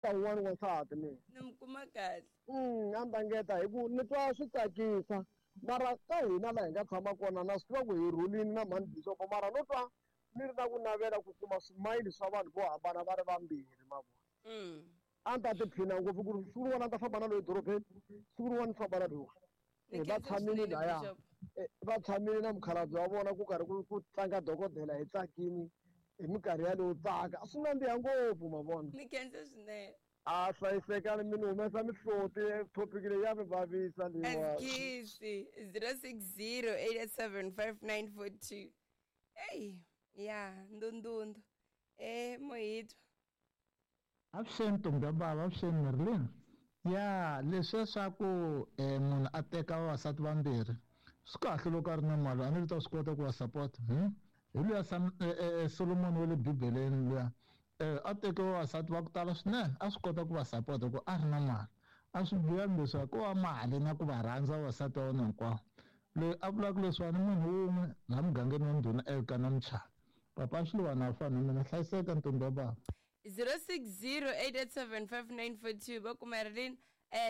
Ta wun'wana wansati mina. Ni mi kuma kahle. A ni ta ngeta hi ku ni twa swi tsakisa mara ka hina laha hi nga tshama kona na swi tiva ku hi rhulini na mhani Bixopo mara no twa ni ri na ku navela ku kuma swimayili swa vanhu vo hambana va ri vambirhi ma vona. A ni ta tiphina ngopfu ku ri siku rin'wana a ni ta famba na loyi edorobeni siku rin'wana ni famba na loyiwani. Ni Va khensa tshamile swinene laya Bishop. Va tshamile na mukhalabye wa vona ku karhi ku tlanga dokodela hi tsakini hi minkarhi yaleyo tsaka a swi nandziha ngopfu ma vona. Ni khensa swinene. A hlayisekani mi ni humesa mihloti topic leyi ya mi vavisa leyiwa. Askisi 0608875942. Ey, ya ndundundu. Eh, Mohitwa. Avuxeni ntombi ya bava, avuxeni Marilyn. Ya leswiya swa ku munhu a teka vavasati vambirhi swi kahle loko a ri na mali a ni ta swi kota ku va support. Hi luya Solomon wa le Bibeleni luya a teke vavasati va ku tala swinene a swi kota ku va support hi ku a ri na mali. A swi bihangi leswiya ko va mali na ku va rhandza vavasati va wena hinkwavo. Loyi a vulaka leswiwani i munhu wun'we laha mugangeni wa ndhuna Elkana Mchana. Papa Xiluva a fani na mina hlayiseka ntombi ya bava. 0608875942 va ku Marilyn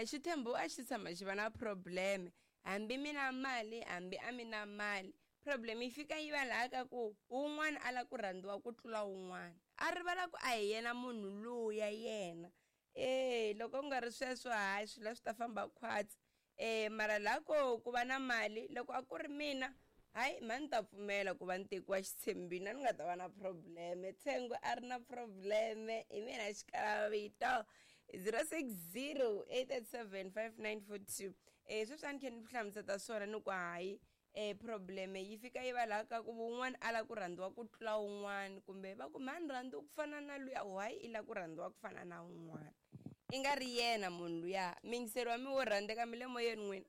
xithembu a xi tshama xi va na problem hambi mi na mali hambi a mi na mali problem yi fika yi va laha ka ku wun'wana a la ku rhandziwa ku tlula wun'wana a rivala ku a hi yena munhu luya yena e loko ku nga ri sweswo hayi swilo swi ta famba khwatsi e mara laha ko ku va na mali loko a ku ri mina hayi mhani ta pfumela ku va ni tekiwa xitshembini a ni nga ta va na probleme tsengo a ri na probleme hi mina xikalavito 0608875942 e sweswi a ni khe ni hlamuseta swona ni ku hayi e probleme yi fika yi va laha ka ku wun'wana a lava ku rhandziwa ku tlula wun'wana kumbe va ku mhani rhandzi ku fana na luya why i lava ku rhandziwa ku fana na wun'wana i nga ri yena munhu luya miyingiseri wa mi wo rhandzeka mi le moyeni n'wina.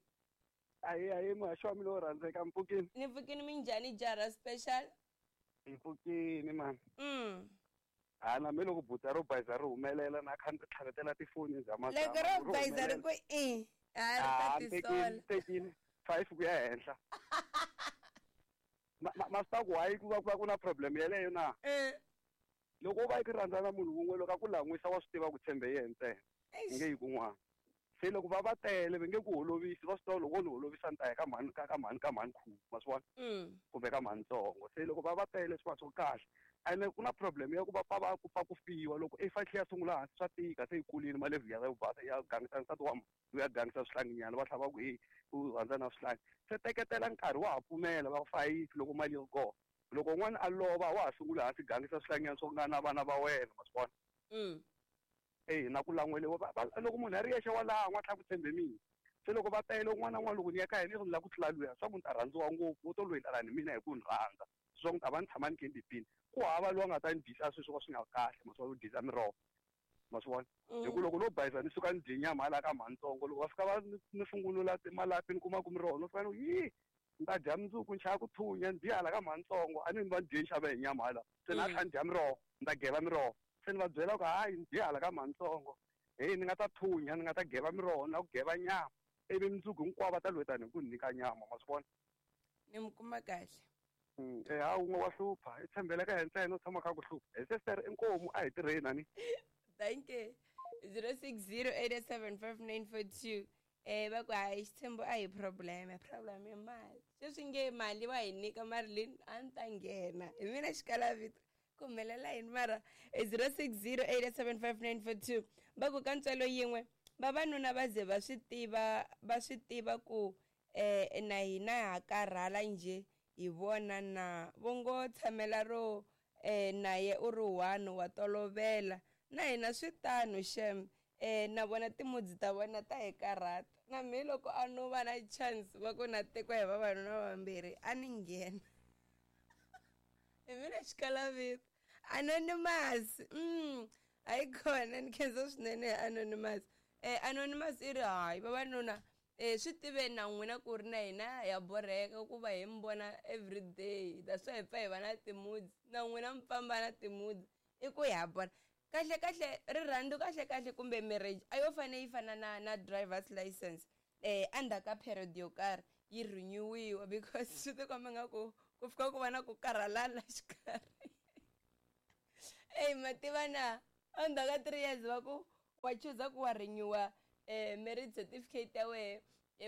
Ahi ahi muhaxi wa mina wo rhandzeka mpfukini. Ni pfukini minjhani jara special? Hi pfukini mani. Ha na me loko buta ro bayiza ri humelela na kha ni tlhavetela tifoni za mazama. Loko ro bayiza ri ku i ha ri ta tisola. Tekini 5 ku ya henhla. Ma swi ta ku why ku va ku va ku na problem yeleyo na? Loko u va i ku rhandza na munhu wun'we loko a ku lan'wisa wa swi tiva ku tshembe yena ntsena. Nge yi kun'wana. Se loko va va tele va nge ku holovisi va swi tiva loko wo ni holovisa ni ta ya ka mhani ka ka mhani ka mhani khume ma swi vona kumbe ka mhani ntsongo se loko va va tele swi va swi kahle ene ku na problem ya ku va pfa va ku pfa ku fiwa loko i fa tlhe ya sungula hansi swa tika se yi kulile malevhu ya yo basa ya gangisa nsati wa ya gangisa swihlanginyana va tlhela va ku e u rhandza na swihlangi se teketela nkarhi wa ha pfumela va fayisi loko mali yi ri kona loko n'wana a lova wa ha sungula hansi gangisa swihlanginyana swo nga na vana va wena ma swi vona Eh na ku lan'weliwa loko munhu a ri yexe wa lan'wa tlha ku tshembe mina se loko va tele un'wana na un'wana loko ni ya ka yena ni lava ku tlula luya swa ku ni ta rhandziwa ngopfu wo to lwelana ni mina hi ku ni rhandza swa ku ni ta va ni tshama ni khe ni tiphina ku hava loyi a nga ta ni dyisa sweswo ka swi nga kahle ma swi vona ku dyisa miroho ma swi vona hi ku loko no bayiza ni suka ni dye nyama hala ka mhanitsongo loko va fika va ni fungunula malapi ni kuma ku miroho no fika ni yi ni ta dya mundzuku ni chava ku thunya ni dye hala ka mhanitsongo a ni va ni dye ni xave hi nyama hala se na tlha ni dya miroho ni ta geva miroho se ni va byela ku hayi ni dye hala ka mhanitsongo heyi ni nga ta thunya ni nga ta geva miroho ni la ku geva nyama ivi mundzuku hinkwavo va ta lwetani hi ku ni nyika nyama ma swi vona. Ni mi kuma kahle. Ha wun'we wa hlupha i tshembele ka yena ntsena u tshama kha ku hlupha hi sestere inkomu a hi tirheni ani. Thank you. 0608875942 va ku hayi xitshembo a hi problem problem i mali sweswi nge mali wa hi nyika Marilyn a ni ta nghena hi mina xikalavito ku humelela yini mara 0608875942 va ku ka ntswalo yin'we vavanuna va ze va swi tiva va swi tiva ku na hina ha karhala njhe hi vona na vo ngo tshamela ro naye u ri one wa tolovela na hina swi tano shem na vona timudzi ta vona ta hi karhata na me loko a no va na chance va ku na tekiwa hi vavanuna vambirhi a ni nghena hi mina xikalavito anonymous hayi khona ni khensa swinene anonymous anonymous i ri hayi vavanuna swi tiveni na n'wina ku ri na hina ya borheka ku va hi mi vona everyday that's why hi pfa hi va na timudzi na n'wina mi famba na timudzi i ku ya borha kahle kahle rirhandzu kahle kahle kumbe marriage a yo fane yi fana na driver's license endzhaku ka period yo karhi yi renewiwa because swi tikomba nga ku ku fika ku va na ku karhalana xikarhi ey ma tiva na endzhaku ka 3 years va ku Wa chuza ku wa renewa marriage certificate ya wehe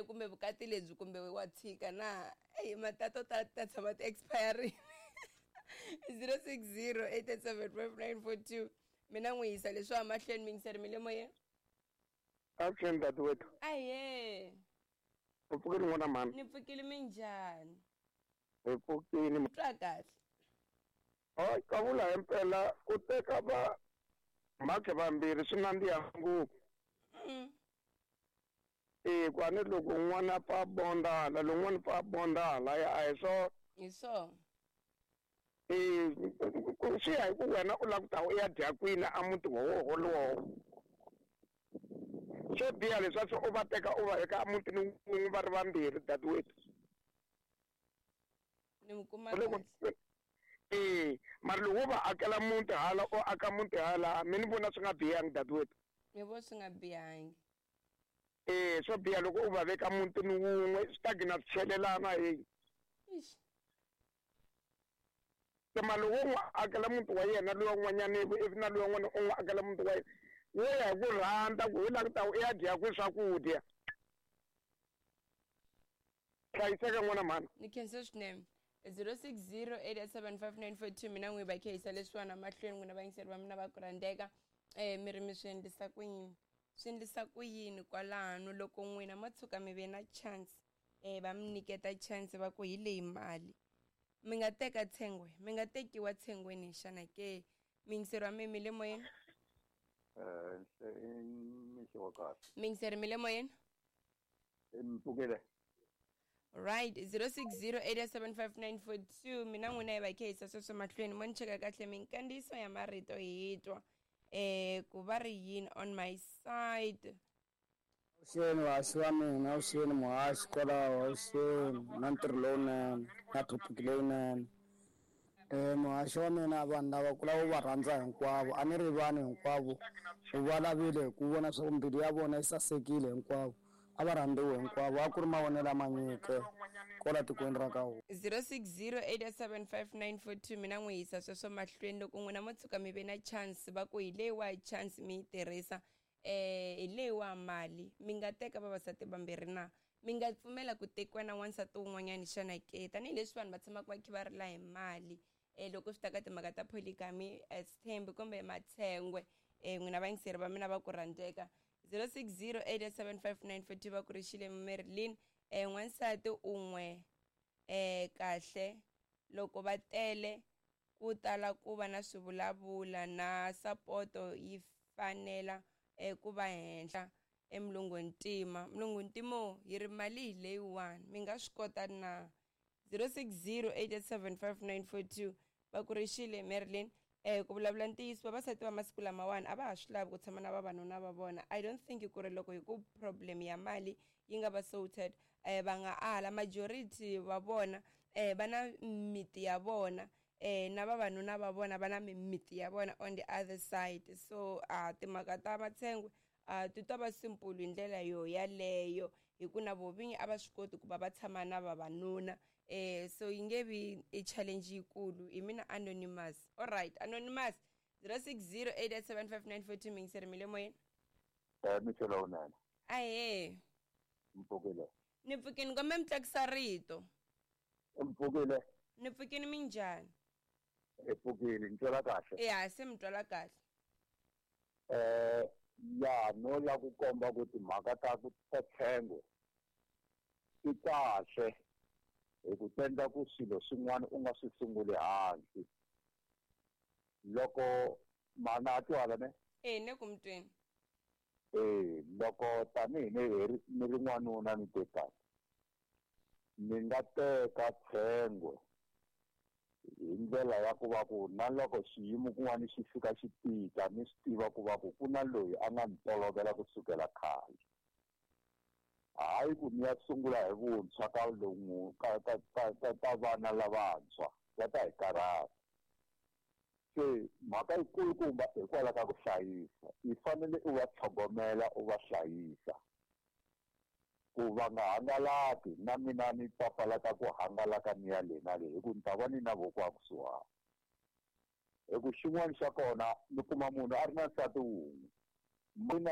kumbe vukati lebyi kumbe wa tshika na eyi matato ta ta tshama ti expiring. 0608875942 mina n'wi yisa leswi mahlweni mingiseri mi le moyeni. Avuxeni dadewethu. Ahe. U pfukile n'wana mhani? Ni pfukile, minjhani? Hi pfukile. Twa kahle. Hayi, kavula himpela ku teka va mhakhe vambirhi swi nandziha ngopfu. E ku a ni loko un'wana a pfa a bonda hala, lowun'wana pfa a bonda halaya, a hi swona. Hi swona. E swi ya hi ku wena u lava ku ta u ya dya kwini a muti wowo wolowo. Swo biha leswaku u va teka u va veka emutini wun'we va ri vambirhi, dadewethu. Ni mi kuma kahle. E mara loko wo va akela muti hala, u aka muti hala, mi ni vona swi nga bihangi, dadewethu. Mi vo swi nga bihangi. E swo biha loko u va veka mutini wun'we, swi ta gina swi chelelana heyi. Ixi. Se mara loko u n'wi akela muti wa yena luya un'wanyana, ivi na luya un'wana u n'wi akela muti wa yena, wo ya hi ku rhandza ku hi lava ku ta u ya dya kwihi swakudya. Hlayiseka n'wana mhani. Ni khensa swinene. 0608875942 mina n'wi va khehisa leswiwani mahlweni n'wina vayingiseri va mina va ku rhandzeka. Mi ri mi swi endlisa ku yini, swi endlisa ku yini kwalano loko n'wina mo tshuka mi ve na chance, va mi nyiketa chance va ku hi leyi mali, mi nga teka tshengwe, mi nga tekiwa tshengweni xana ke? Miyingiseri wa mi mi le moyeni. Mixo wa kahle. Miyingiseri mi le moyeni. Mpfukile. Right, 0608875942 mina n'wina hi va khehisa sweswo mahlweni. Mo ni cheka kahle minkandziyiso ya marito hi twa ku va ri yini on my side. Avuxeni vahaxi va mina, avuxeni muhaxi kwalaho, avuxeni na ntirho lowunene na thopiki leyinene. Muhaxi wa mina, vanhu lava ku lava u va rhandza hinkwavo, a ni ri vanhu hinkwavo u va lavile hi ku vona swa ku mbilu ya vona yi sasekile hinkwavo, a va rhandziwe hinkwavo, a ku ri mavonelo lama nyike kwala tikweni ra ka hina. 0608875942 mina n'wi yisa sweswo mahlweni. Loko n'wina mo tshuka mi ve na chance va ku hi leyiwa chance mi yi tirhisa, hi leyiwa mali, mi nga teka vavasati vambirhi na? Mi nga pfumela ku tekiwa na wansati wun'wanyani xana ke? Tanihileswi vanhu va tshamaka va kha va rila hi mali, loko swi ta ka timhaka ta polygamy, sithembi kumbe matshengwe, n'wina vayingiseri va mina va ku rhandzeka. 0608875942 va ku rixile Marilyn. N'wansati un'we kahle loko va tele ku tala ku va na swivulavula na sapoto yi fanela ku va henhla emulungu ntima. Mulungu ntimo yi ri mali hi leyiwani, mi nga swi kota na? 0608875942 va ku rixile Marilyn. Ku vulavula ntiyiso, vavasati va masiku lamawani a va ha swi lavi ku tshama na vavanuna va vona. I don't think ku ri loko hi ku problem ya mali yi nga va sorted, va nga ala. Majority va vona va na miti ya vona, na vavanuna va vona va na mimiti ya vona on the other side. So timhaka ta matshengwe ti ta va simple hi ndlela yo yaleyo, hi ku na vovinyi a va swi koti ku va va tshama na vavanuna. So yi nge vi i challenge yikulu. Hi mina Anonymous. Alright, Anonymous, 0608875942 mingiseri mi le moyeni. Mixo lowunene. Ahe. Mpfukile. Ni pfukini, kombe mi tlakusa rito. Mpfukile. Ni pfukini, minjhani? Hi pfukile, ni twela kahle. Ya, se mi twela kahle. Ya no la ku komba ku timhaka ta ku ta tshengwe ti kahle hi ku tendla ku swilo swin'wana u nga swi sunguli hansi. Loko mana a twala ne? Ne ku mi tweni. Loko tanihi ni ri n'wanuna ni tekaka, ni nga teka tshengwe hi ndlela ya ku va ku na loko xiyimo kun'wana xi fika xi tika, ni swi tiva ku va ku ku na loyi a nga ni tolovela kusukela khale. Hayi ku ni ya sungula hi vuntshwa ka lomu ka ka ka ka vana lavantshwa va ta hi karhata. Se mhaka yikulukumba hikwalaho ka ku hlayisa, i fanele u va tlhogomela u va hlayisa ku va nga hangalaki. Na mina ni papalata ku hangalaka ni ya le na le, hi ku ni ta va ni na voko a kusuhani. Hi ku xin'wana xa kona ni kuma munhu a ri na nsati wun'we, Mina.